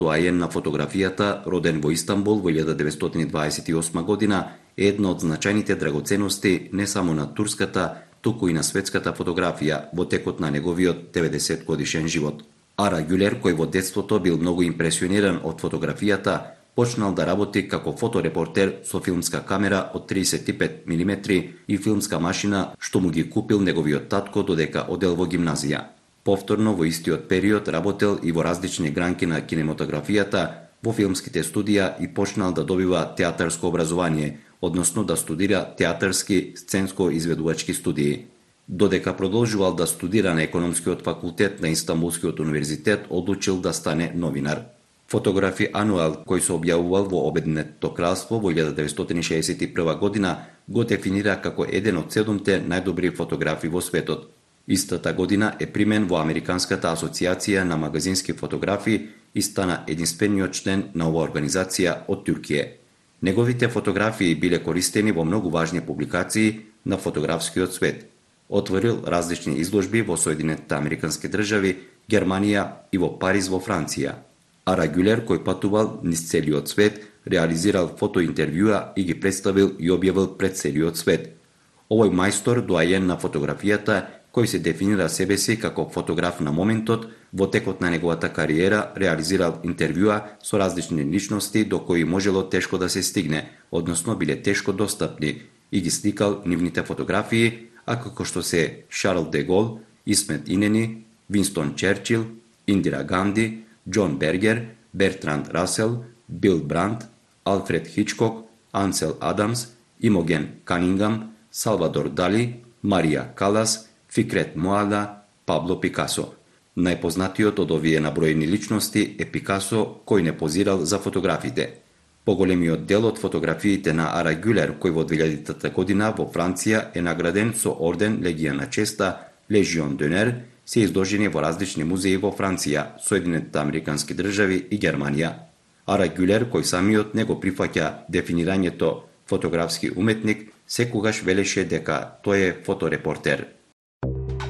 Доаен на фотографијата, роден во Истанбул во 1928 година, е една од значајните драгоценности не само на турската, туку и на светската фотографија во текот на неговиот 90 годишен живот. Ара Гюлер, кој во детството бил многу импресиониран од фотографијата, почнал да работи како фоторепортер со филмска камера од 35 мм и филмска машина што му ги купил неговиот татко додека одел во гимназија. Повторно во истиот период работел и во различни гранки на кинематографијата, во филмските студија и почнал да добива театарско образование, односно да студира театарски сценско-изведувачки студии. Додека продолжувал да студира на економскиот факултет на Истанбулскиот универзитет, одлучил да стане новинар. Фотографи Ануел, кој се објавувал во Обединетото кралство во 1961 година, го дефинира како еден од 7 најдобри фотографи во светот. Истата година е примен во Американската асоциација на магазински фотографи и стана единствениот член на оваа организација од Туркија. Неговите фотографии биле користени во многу важни публикации на фотографскиот свет. Отворил различни изложби во Соединетите Американски држави, Германија и во Париз во Франција. Ара Гюлер, кој патувал низ целиот свет, реализирал фотоинтервјуа и ги представил и објавил пред целиот свет. Овој мајстор, доаен на фотографијата, кој се дефинира себе си како фотограф на моментот, во текот на неговата кариера реализирал интервјуа со различни личности до кои можело тешко да се стигне, односно биле тешко достапни, и ги сликал нивните фотографии, а како што се Шарл де Гол, Исмет Инени, Винстон Черчил, Индира Ганди, Џон Бергер, Бертранд Расел, Бил Бранд, Алфред Хичкок, Ансел Адамс, Имоген Канингам, Салвадор Дали, Марија Калас, Фикрет Моада, Пабло Пикасо. Најпознатиот од овие наброени личности е Пикасо, кој не позирал за фотографите. Поголемиот дел од фотографиите на Ара Гюлер, кој во 2000 година во Франција е награден со орден Легија на честа Лежион d'Honneur, се изложени во различни музеи во Франција, Соединетите Американски држави и Германија. Ара Гюлер, кој самиот не го прифаќа дефинирањето фотографски уметник, секогаш велеше дека тој е фоторепортер.